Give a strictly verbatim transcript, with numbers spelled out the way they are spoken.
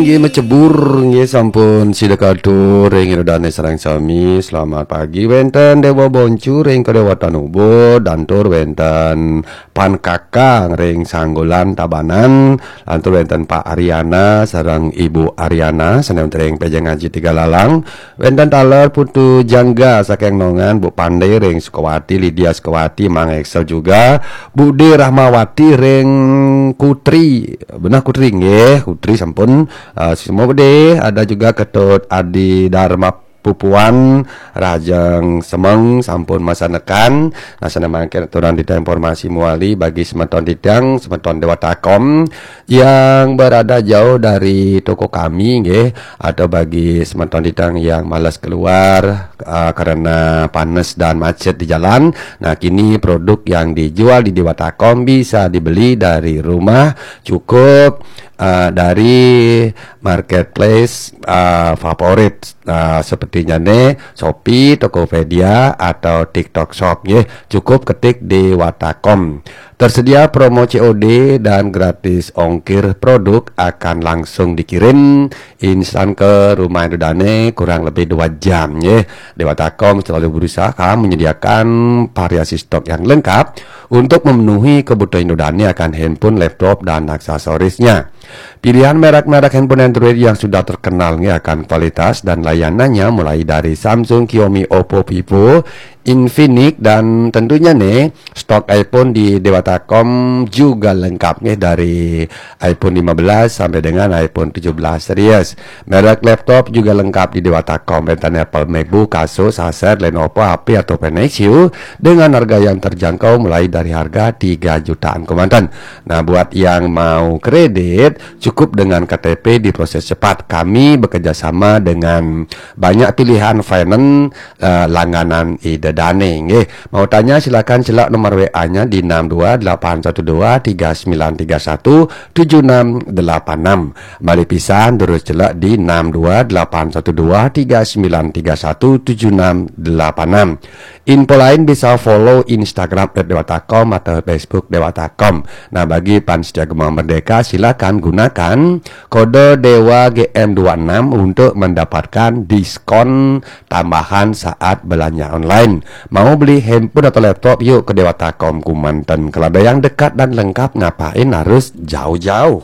Inggih, macebur, inggih, sampun sida katur ring ida dane sareng sami. Selamat pagi wenten Dewa Boncu ring kadewatan Ubud, lantur wenten Pan Kakang ring Sanggulan Tabanan, lantur wenten Pak Ariana sareng Ibu Ariana sane wenten ring Pejeng Aji Tiga Lalang, wenten taler Putu Jangga saking Nongan, Bu Pande ring Sukawati, Lydia Sukawati, Mang Excel juga, Bude Rahmawati ring Kutri. Benah Kutri, nggih, Kutri sampun, eh, semua Bude, ada juga Ketut Adi Dharma Pupuan, Rajang Semeng sampun masanekan. Nah, sane mangkin aturan titiang informasi mawali bagi semeton titiang, semeton Dewata Kom yang berada jauh dari toko kami, nggih, atau bagi semeton titiang yang malas keluar, eh, karena panas dan macet di jalan. Nah, kini produk yang dijual di Dewata Kom bisa dibeli dari rumah, cukup, eh, dari marketplace, eh, favorit, eh, sepertinya nih Shopee, Tokopedia, atau TikTok Shop, nggih. Cukup ketik Dewata Kom. Tersedia promo C O D dan gratis ongkir, produk akan langsung dikirim instan ke rumah ida dane kurang lebih dua jam, nggih. Dewata Kom selalu berusaha menyediakan variasi stok yang lengkap untuk memenuhi kebutuhan ida dane akan handphone, laptop, dan aksesorisnya. Pilihan merek-merek handphone Android yang sudah terkenal, nggih, akan kualitas dan layanannya, mulai dari Samsung, Xiaomi, Oppo, Vivo, Infinix, dan tentunya nih stok iPhone di Dewata Kom juga lengkap, nggih, dari iPhone lima belas sampai dengan iPhone tujuh belas series. Merek laptop juga lengkap di Dewata Kom, wenten Apple MacBook, Asus, Acer, Lenovo, H P, atau Nexus dengan harga yang terjangkau, mulai dari harga tiga jutaan kemanten. Nah, buat yang mau kredit, cukup dengan K T P diproses cepat. Kami bekerja sama dengan banyak pilihan finance, eh, langganan ida dane, nggih. Mau tanya, silakan celak nomor W A-nya di enam dua delapan satu dua tiga sembilan tiga satu tujuh enam delapan enam. Malih pisan, terus celak di enam dua delapan satu dua tiga sembilan tiga satu tujuh enam delapan enam. Info lain bisa follow Instagram at dewata com atau Facebook Dewata Com. Nah, bagi pan setia Gema Merdeka, silakan gunakan kode Dewa G M dua enam untuk mendapatkan diskon tambahan saat belanja online. Mau beli handphone atau laptop, yuk ke Dewata Com kemanten. Kalau ada yang dekat dan lengkap, ngapain harus jauh-jauh?